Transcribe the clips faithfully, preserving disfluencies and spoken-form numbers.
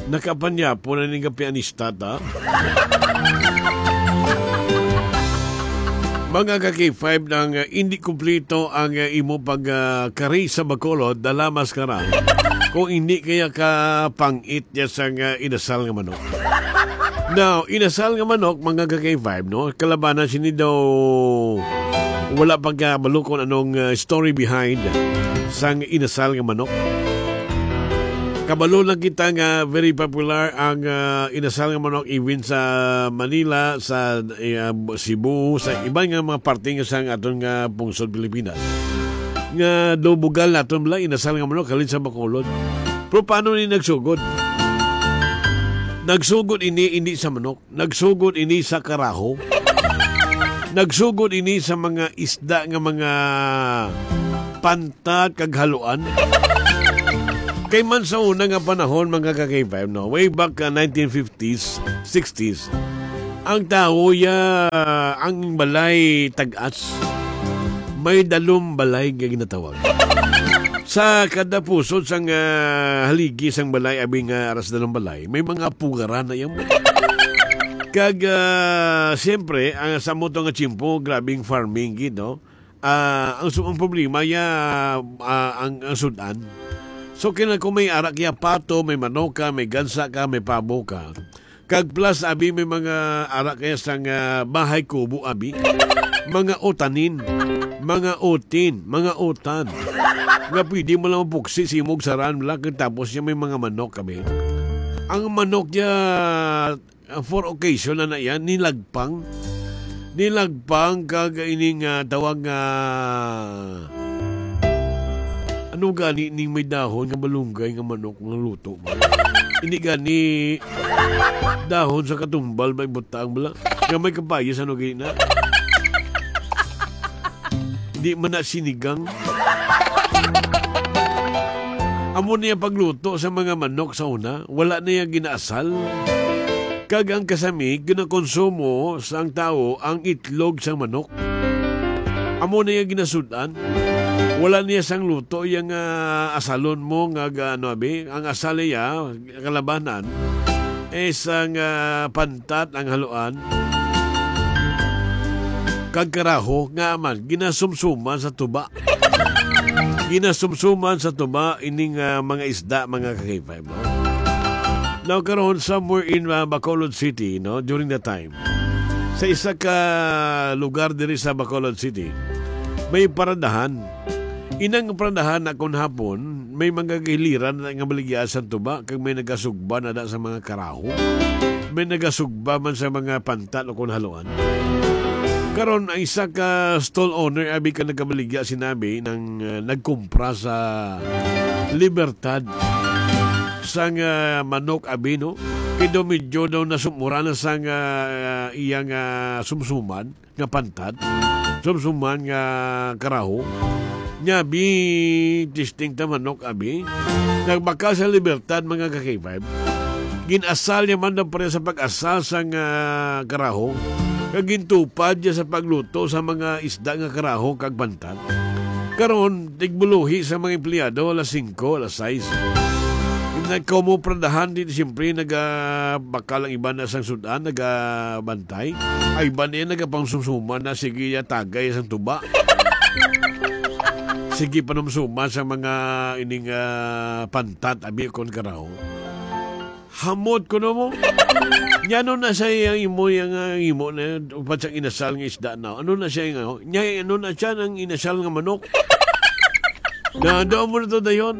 Nakapanyapo na ning pianista, ta? Mga ka-K five, nang, uh, hindi kumplito ang, uh, imo pag, uh, kari sa Bacolod, dala maskara. Kung hindi kaya ka pang-it niya sang, uh, inasal nga manok. Now, inasal nga manok, mga ka-K five, no? Kalabanan sini daw wala pagkabalo kung anong, uh, story behind sang inasal nga manok. Kabalo lang kita nga very popular ang, ah, inasal nga manok even sa Manila, sa, eh, ah, Cebu, sa iban nga mga parte nga sang aton nga pungsod Pilipinas, nga dubugal naton bala inasal nga manok halin sa Bacolod. Pero paano ni nagsugod? Nagsugod ini, hindi sa manok. Nagsugod ini sa karaho. Nagsugod ini sa mga isda nga mga pantat kag haluan. Kay man sa una nga panahon, mga ka-K five, no, way back, uh, nineteen fifties, sixties, ang tawo ya, ang balay tag-as, may dalom balay nga ginatawag. Sa kada pusod sang, ah, haligi sang balay, abi nga aras na ng balay, may mga pugaran na yan. Kag, ah, siyempre, ang sa mo to nga tiyempo, grabing farming gid, no? Ah, ang su-, ang problema ya, ah, ang, ang sudan. So, kina kung may arak ya pato, may manoka, may gansa ka, may pabo ka. Kag plus, abi, may mga ara kaya sang, ah, bahay kubo, abi. Mga utanin, mga utin, mga utan. Nga pwede mo lang mapuksi, simog, saran lang, kag tapos niya may mga manok, abi. Ang manok niya, ah, for occasion na na yan, nilagpang. Nilagpang kag ining, ah, tawag nga, ano gani ning may dahon nga malunggay nga manok nga luto ba? Ini gani dahon sa katumbal may butang bala. Nga may kapayas, ano gani na? Di man na sinigang. Amo niya pagluto sa mga manok sa una, wala niya ginaasal. Kag ang kasami, ginakonsumo sang tawo ang itlog sang manok. Amo niya ginasud-an. Wala niya sang luto yang, ah, asalon mo nga ga-, ano, abi, ang asal niya, kalabanan, is ang, ah, pantat, ang haluan, kag karaho, nga man, ginasumsuman sa tuba. Ginasumsuman sa tuba ining, ah, mga isda, mga ka-K five, no? Now, karon, somewhere in, ah, Bacolod City, no, during the time, sa isa ka lugar diri sa Bacolod City, may paradahan. Inang paradahan na kon hapon, may mga gahiliran na nga baligya sa tuba, kag may nagasugba na da sa mga karaho. May nagasugba man sa mga pantat o kon haluan. Karon, ang isa ka stall owner, abi ka nagkabaligya, sinabi nang, uh, nagkumpra sa Libertad sang, uh, manok, abi, no? Kay daw medyo daw nasumura na sang, uh, iyang, uh, sumsuman nga pantat, sumsuman nga karaho. Nya, bi, testing ta manok, abi. Nagbakal sa Libertad, mga ka-K five. Gin-asal niya man daw pareha sa pag-asal sang, ah, karaho. Kag gintupad niya sa pagluto sa mga isda nga karaho kag pantat. Karon, tigbuluhi sa mga empleyado, alas singko, alas sais. Nagkaumupradahan din, siyempre, nagabakal ang iban na sang sudan, nagabantay. Ay, iban niya nagapangsumsuman na, sige, ya, tagay sang tuba. Sige, panumsuman sa mga ining, ah, pantat, abi kon karaho. Hamot ko no mo. Nya ano na siya yang imo, yang, ah, imo na, upat sa inasal nga isda na. Ano na siya yang, ano? Nya, ano na siya nang inasal nga manok? Na, doon mo na to dayon.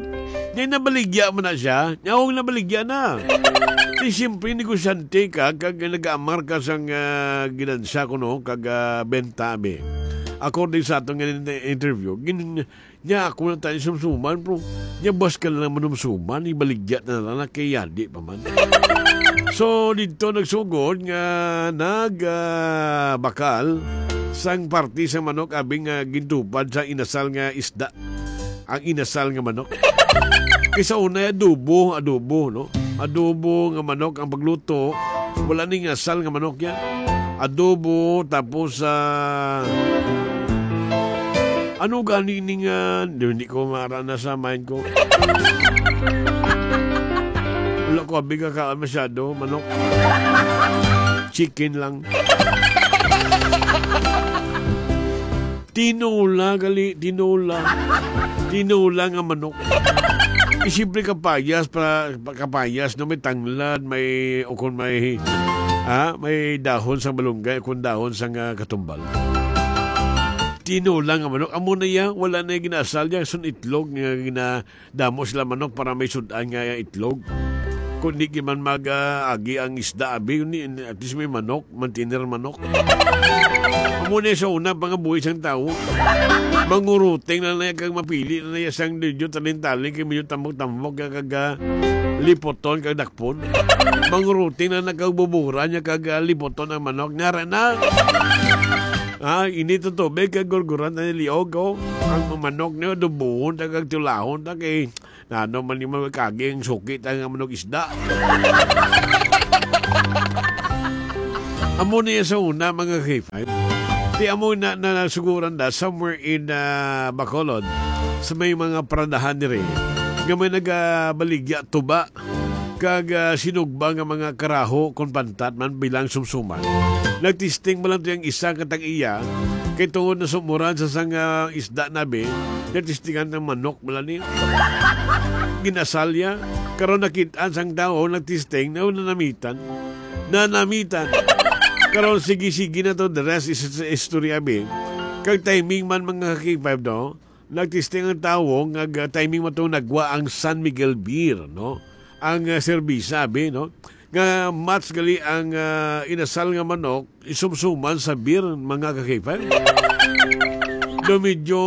Nya, nabaligya mo na siya. Nya, huwag nabaligya na. Di siyempre, negosyante ka, kag nag-aamar ka sang, ah, ginansya ko, no? Kag, ah, benta, abi. According sa atong in-, interview, gin-, nya, ako na tayo sumsuman, bro. Nya, bas ka na lang manumsuman, ibaligya na lang na kay yadi pa man. So, dito nagsugod nga nag, ah, bakal sang parte sa manok, abi nga gintupad sa inasal nga isda. Ang inasal nga manok. Kay sa una, adobo, adobo, no? Adobo nga manok ang pagluto. Wala ning asal nga manok yan. Adobo, tapos, ah, ano gani ni nga, di, hindi ko maara na sa mind ko. Wala Kuwabi ka ka masyado, manok. Chicken lang. Tinola, gali, tinola. Tinola nga manok. Eh, siyempre, kapayas, pa, pa, kapayas, no? May tanglad, may, o kung may, ah, may dahon sa malunggay, o kung dahon sa nga katumbal. Tinola nga manok. Amo na iya, wala na yung ginasal niya. Sun itlog nga gina-, damo sila manok para may sudan nga itlog. Kung di man mag, ah, agi ang isda, abi, ni, at least may manok, mantiner manok. Amo na sa una, mga buhi sang tao. Manguruting na na kag mapili na na sang medyo talin-talin, kay medyo tambok-tambok, kag, kag, ah, lipoton, kag dakpon. Manguruting na na kag bubura niya, kag, ah, lipoton ang manok. Nara na. Ah, ini to tubig, kag gurguran na liog, oh. Ang manok niyo, dubuhon, ta kag tulahon, ta kay, na ano man yung mga kaging suki, ta nga manok isda. Amo niya sa una, mga K five. Di amo na, na nasuguran na somewhere in, ah, Bacolod, sa may mga paradahan diri, nga may nagabaligya tuba, kag, ah, sinugba nga mga karaho kon pantat man bilang sumsuman. Nagtesting man lang to yung isa nga tag-iya, kay tungod na sumuran sa sang, ah, isda nabi, nagtestingan ng manok bala niya. Ginasalya, karon nakit-an sang tawo, nagtesting, na nanamitan. Nanamitan. Karon, sige-sige na to, the rest is, is history, abi. Kag timing man, mga K five, no? Nagtesting ang tawo nga ga-, timing mo itong nagwa ang San Miguel Beer, no? Ang, ah, serbisa, abi, no? Nga match gali ang, ah, inasal nga manok, isumsuman sa beer, mga ka-K five. Daw medyo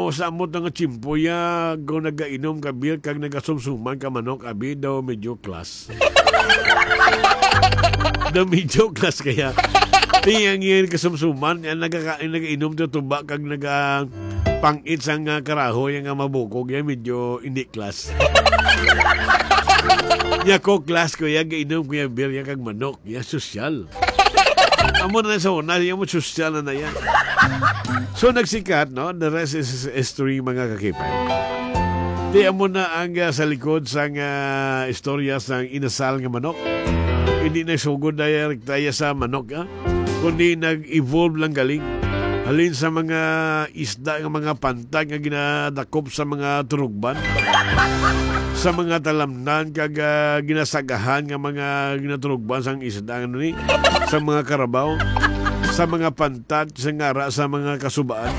sa amot nga tiyempo ya, kung nagainom ka beer, kag nagasumsuman ka manok, abi, daw medyo class. Daw medyo class kaya. Tiyang yan kasumsuman, yan nagaka-, nagainom to tuba, kag naga-, pangit sang, ah, karaho, yan nga mabukog, yan medyo hindi class. Ya ko class ko, ya gainom ko, ya beer, ya kag manok, ya sosyal. Amo na sa una, ya mo sosyal na na yan. So, nagsikat, no? The rest is history, mga ka-K five. Di amo na ang, ah, sa likod sang, ah, istorya sang inasal nga manok. Hindi na sugod na yan, kaya sa manok, ah. Kundi nag-evolve lang galing. Halin sa mga isda nga mga pantag nga ginadakop sa mga turugban, sa mga talamnan kag, ah, ginasagahan nga mga ginaturugban sang isda, ano ni, sa mga karabaw, sa mga pantag, sa ngara, sa mga kasubaan.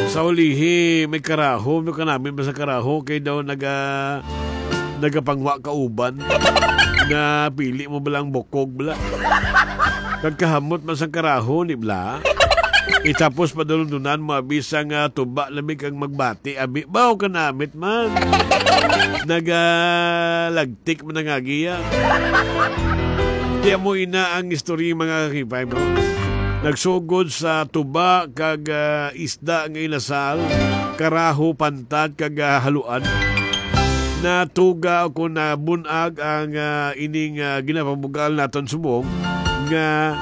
Sa ulihi, may karaho, may kanami ba sa karaho, kay daw naga-, nagapangwa kauban. Na pili mo bala ang bukog bala. Kag kahamot man sang karaho, ni bala. Itapos padulundunan mo, abi, sang, ah, tuba, labi kag magbati, abi. Baw ka namit man. Nagalagtik man ang agiya. Di amo ina ang istorya, mga ka-K five, no? Nagsugod sa tuba kag, ah, isda nga inasal, karaho, pantag, kag, ah, haluan. Natuga o kung nabunag ang, ah, ining, ah, ginapabugal naton subong nga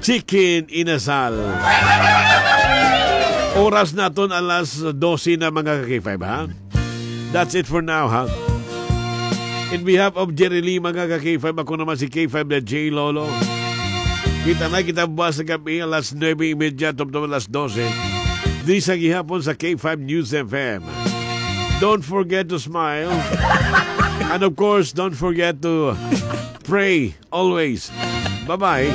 chicken inasal. Oras naton alas dose na, mga ka-K five, ha? That's it for now, ha? In behalf of Jerry Lee, mga ka-K five, ako naman si K five na J Lolo. Kita na kita buwas sa gabi, alas nuebe y media, tubtob alas dose. Di sa gihapon sa K five News F M. Don't forget to smile. And of course, don't forget to pray always. Bye-bye.